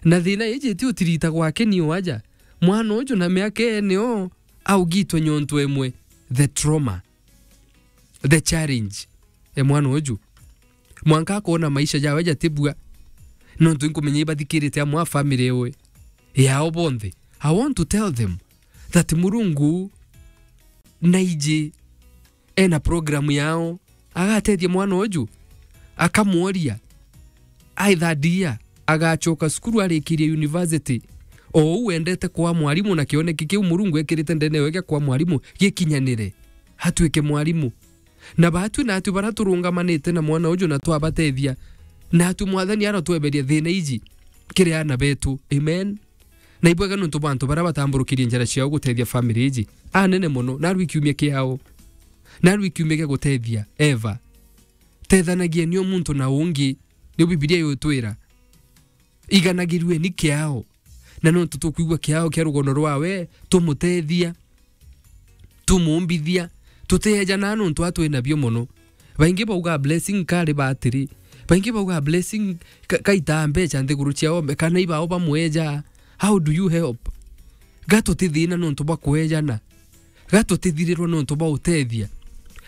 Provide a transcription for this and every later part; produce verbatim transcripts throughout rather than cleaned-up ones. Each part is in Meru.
Na thina iji ti utirita gwake ni waja. Mwana uju na miaka ene o augitwe nyontu emwe. The trauma. The challenge. E mwana uju. Mwanka akona maisha jawe jatibua. Nontu inkumenya ibathikirite amwe a family ewe. Yao bonthe. I want to tell them that Murungu naiji ena program yao, agatethia mwana uju, akamworia, either dear, agacoka cukuru arikirie university, o uu wendete kwa mwarimu na kioneki kiu Murungu ekirite ndene yawe gia kwa mwarimu gikinyanire, atuike mwarimu. Na batwi natwi bara turungamanite na mwana uju na twabatethia, natwi Mwathani arotweberia thina iji kiri ana betu. Amen. Na ibwega nontu bwa antu baria batamburukirie njira ciao gutethia family iji. Anene mono, narua ikiumia kiao. Narua ikiumia gia gutethia. Eva. Tethanagieni o muntu na ungi, niu Bibilia yutwira. Iganagirue ni kiao. Na nontu tukwigua kiao kia rugono rwawe, tumutethia. Tumumbithia, tutiejanaa nontu atwi nabio mono. Baingi baugaa blessing kari batiri. Baingi baugaa blessing ka-, kaitaa mbeca nthiguru ciao, kana ibao bamweja. How do you help? Ga tutithina nontu bwa kwejana. Ga tutithirirwa nontu bwa utethia.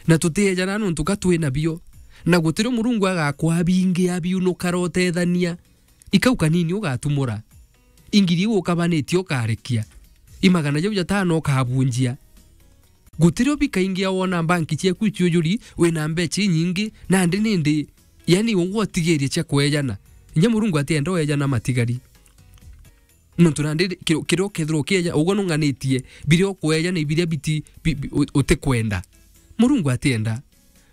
Na tutiejanaa nontu ga twi nabio. Na gutirio Murungu agakwaa bingi abiunukara utethania. Ikau kanini ugatumura. Ingiri iu ukabanitie ukarekia. Imagana jau jatano ukabunjia. Gutirio bikaingia wona mbanki ciaku iciujuri, wina mbeca inyingi, nandi nindi, yani ugwe utigirie cia kwejana. Inya Murungu atienda wejana matigari. Nontu nandi kiri-, kiria ukethirwa ukieja, ugwe nunganitie, biria ukwejana ibiria biti, bi-, bi-, u-, utikwenda. Murungu atienda.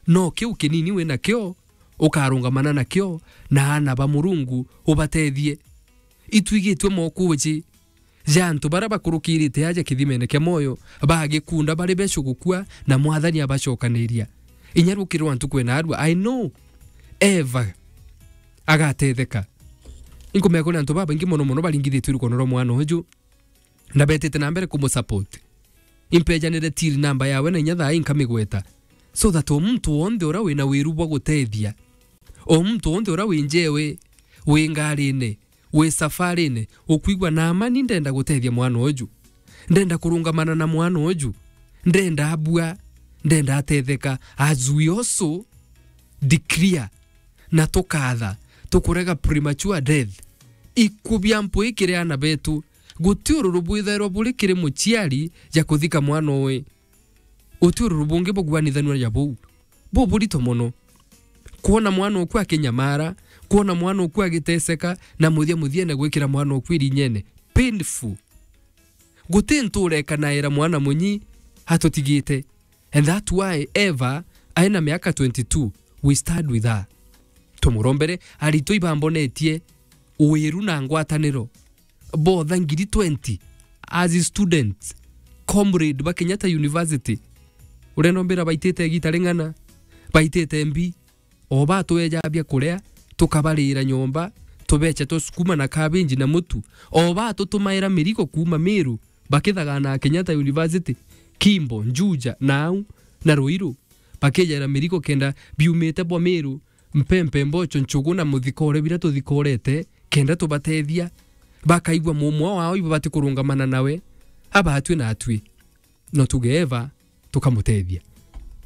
No kiu kinini winakio, ukarungamana nakio, na ana ba Murungu ubatethie. Itwigitwe mokuji ja antu baria bakurukirite aja kithimene kia moyo, bagikunda bari becu gukua, na Mwathani abacokaniria. Inya rukirwa ntuku ina arua, I know Eva agatetheka. Inkumenya kuri antu babaingi mono mono baringithitue rukono rwa mwana uju, na betite na mbere kumusupport. Impejanire till number yawe na inya thaa ii nkamigweta. So that o muntu wonthe uria wina wiru bwa gutethia, o muntu wonthe uria wi njewe, wi ngarine, wi safarine, ukwigua na amani ndenda gutethia mwana uju. Ndenda kurungamana na mwana uju. Ndenda abua, ndenda atetheka. As we also declare na tukatha, tukurega premature death. Ikubia mpwi kiri ana betu, guti ururu bwithairwa buri kiri muciari ja kuthika mwana uwe. Uti ururu bungi buguanithanua ja buu. Buburito mono. Kwona mwana uku akinyamara, kwona mwana uku agiteseka, na muthia muthiene gwikira mwana uku irinyene. Painful. Guti ntu urekanaira mwana munyi atutigite. And that's why Eva aina miaka twenty-two, we stand with her. Tumurombere, aritwa ibambonetie wiru na ngwataniro. Botha ngiri twenty as students, comrade ba Kenyatta University. Urenda mbira baitite igita ring'ana, baitite mbi, o batweja bia kuria, tukabarira nyomba, tubecha twa sukuma na cabbage na mutu, o batutumaira mirigo kuuma Meru, bakithagana Kenyatta University, Kimbo, Juja, Nau, na Ruiru, bakijera mirigo kenda biumite bwa Meru, mpempe, mbocho, nchugu na muthikore bira tuthikorete, kenda tubatethia, bakaigua mumwa wao ibo batikurungamana nawe, abatwi na atwi. No tuge Eva, tukamutethia.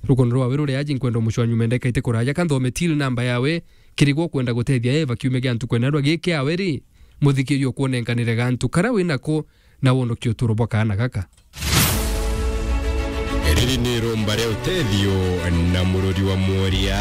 Rukono rwawe ruri aji nkwenda umucwa nyuma ndeka ite kuraja, ka nthome till number yawe, kirigwo kwenda gutethia Eva kiumia gia ntuku ena rwa giki awe ri, muthikirio kwonenkanire gantu kara winako na wonokie uturo bwa kaana gaka. Riri ni rumba ria utethio na mururi wa mworia.